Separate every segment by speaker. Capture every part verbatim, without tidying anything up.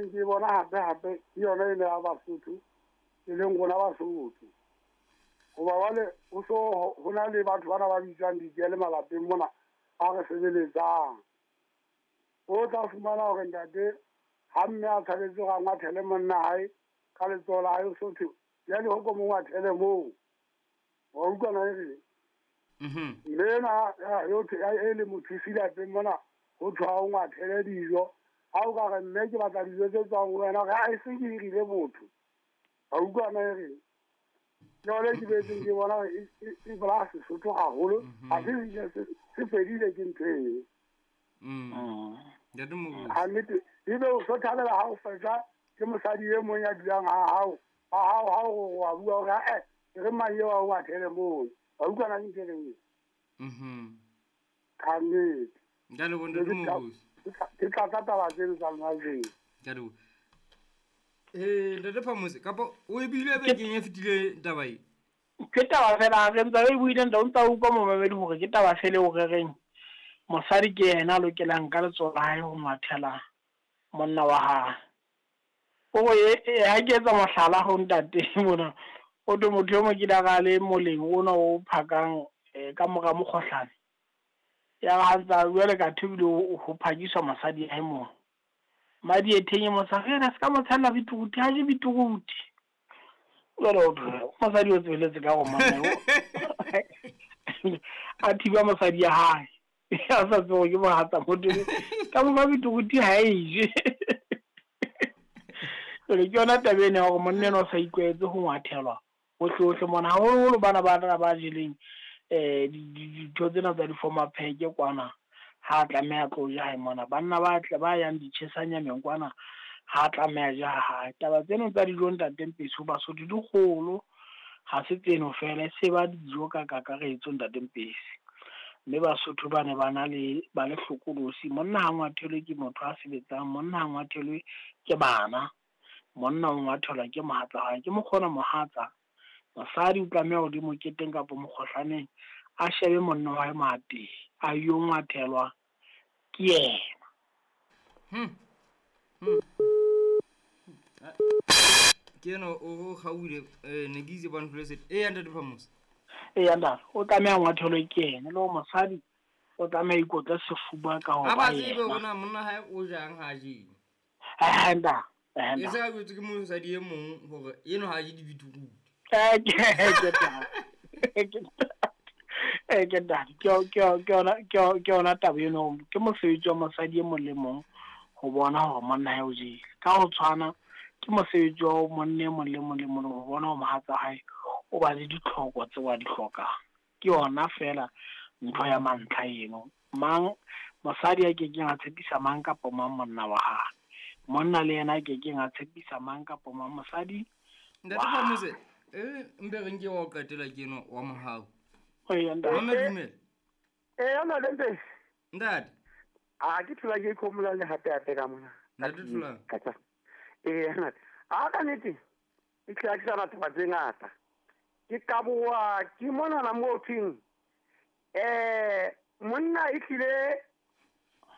Speaker 1: boetseng ke bona hape hape ke yona ena ya Basotho e leng rona Basotho. Hoba jwale ho so ho na le batho bana ba bitswang dikele malapeng mona ba re sebeletsang. O tla fumana hore ntate ha mme a thabetse hore a ngwathele monna hae ka letsoho la hae, so thwe jwale ho ko mo ngwathele moo. Wa utlwa na e reng? Mme ena e le mothusi lapeng mona ho thwe ha o ngwathele dijo. Ha o ka re mme ke batla dijo tse tswang ho wena, ha e se ke hirile motho. Wa utlwa na e reng? Jwale ke boetseng ke bona hore e bolaya Sesotho haholo. Ha se se fedile ke ntho eo. Ha nnete ebe o so thabela ha o fetsa ke mosadi e mong ya dulang ha hao. Ha hao ha o wa bua hore eh re mang eo a o ngwathele moo. Wa utlwa na ke ntho e reng eo? Ka nnete.
Speaker 2: Nka le bona Ntate Moruti.
Speaker 1: Ke tlatsa taba tseno tsa lona jeng.
Speaker 2: Ka leboha. Eh Ntate Phamose kapa o e buile bekeng e fetileng taba e?
Speaker 3: Ke taba fela re ntse re buile ntate o ntsa utlwa momamedi hore ke taba fela eo re reng mosadi ke yena a lokelang ka letsoho la hae ho ngwathela monna wa hae. O re ha ke etsa mohlala ho ntate mona o thwe motho e mong ke ile a le moleng ona o phakang ka mora mokgohlane. Ya re ha ntsa jwale ka thwe ebile ho phakiswa mosadi hae moo. Madietheng e mosadi re se ka mo tshella beetroot ha je beetroot. Jwale o thwe mosadi o tsweletse ka go monna a thiba mosadi ya hae. A sa tsebe ke mohatsa motho ka mo fa beetroot ha e je. Jwale ke yona taba ena ya hore monna enwa o sa itlwaetse ho ngwathelwa hohle hohle mona, haholoholo bana ba ba jeleng eh dintho tsena tsa di-former pack kwana ha tlameha tlo ja hae mona. Banna ba tle ba yang ditjhesanyameng kwana ha tlameha ja hae. Taba tseno tsa dijo ntate Mpesi ho Basotho di kgolo, ha se tseno fela e se ba dijo ka kakaretso ntate Mpesi. Mme Basotho ba ne ba na le ba le hlokolosi. Monna ha ngwathelwe ke motho a sebetsang, monna ha ngwathelwe ke bana, monna o ngwathelwa ke mohatsa hae, ke mokgona mohatsa. Mosadi o tlameha hore moketeng kapa mokgohlaneng a shebe monna wa hae mateng a yo ngwathelwa ke yena.
Speaker 2: Hmm. Hmm. Ke eno o kgaohile eh ne ke itse ba ntloletse. Eh Ntate Phamose.
Speaker 3: Eh ntate, o tlameha ngwathelwe ke yena le hore mosadi o tlameha ikotle sefuba ka ho
Speaker 2: ba ba tsebe hore na monna hae o jang ha je.
Speaker 3: Eh ntate, eh
Speaker 2: E se ka jwetse ke mosadi e mong hore eno ha je di-beetroot.
Speaker 3: Eh ke ke eh ke ntate, ke ke ke yona ke ke yona taba eno. Ke mosebetsi wa mosadi e mong le mong ho bona hore monna hae o jele. Ka ho tshwana ke mosebetsi wa monna e mong le mong le mong ho bona hore mohatsa hae o ba le ditlhoko tseo a di hlokang. Ke yona fela ntho ya mantlha eno. Mang mosadi a kekeng a tshepisa mang kapa mang monna wa hae. Monna le yena a kekeng a tshepisa mang kapa mang mosadi.
Speaker 2: Ntate Phamose, eh mpe re nke wa o qetela ke eno wa mohau.
Speaker 3: Ee ntate.
Speaker 2: Mama dumela.
Speaker 4: Eh ntate Mpesi.
Speaker 2: Ntate.
Speaker 4: A ke thola ke khomola le hape hape ka mona.
Speaker 2: Ntate Tholang.
Speaker 4: Eh ntate. A ka nnete e tla ke sana taba tse ngata. Ke kaboa ke mona na mo thing. Eh monna e tlile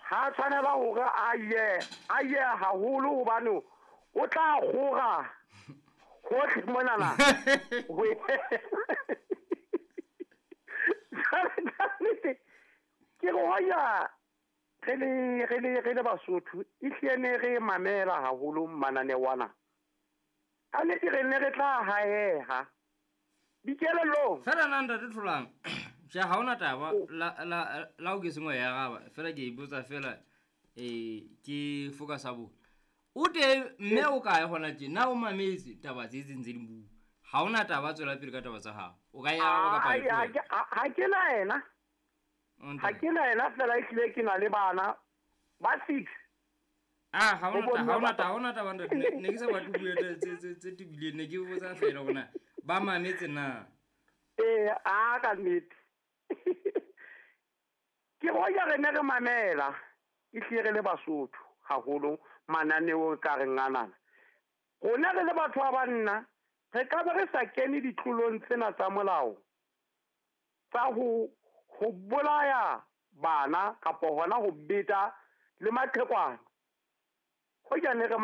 Speaker 4: ha tshwanela hore a ye a ye haholo hobane o tla kgora hohle mona na. Ke go ya re le re le re le Basotho e hlile ne re mamela haholo mananeo ana. Ka nnete re ne re tla haeha dikelellong.
Speaker 2: Fela na Ntate Tholang, tjhe ha hona taba la la la o ke sengwe ya araba fela ke ipotsa fela eh ke focus a bo. O teng mme o kae hona tje na o mametse taba tse tse ntse di bua. Ha hona taba tswela pele ka taba tsa hao. O ka ya araba kapa
Speaker 4: ha ke na ena. Ha ke na ena fela e hlile ke na le bana ba six.
Speaker 2: Ah ha hona ha hona ha hona taba ntate ne ke sa batle bua tse tse tse tebileng ne ke botsa fela hore na ba mametse na.
Speaker 4: Eh a ka nnete. Ke hoja re ne re mamela e hlile re le Basotho haholo mananeo ka re nganana. Rona re le batho ba banna re ka ba re sa kene ditlolong tsena tsa molao tsa ho ho bolaya bana kapa hona ho beta le maqhekwana. Hoja ne re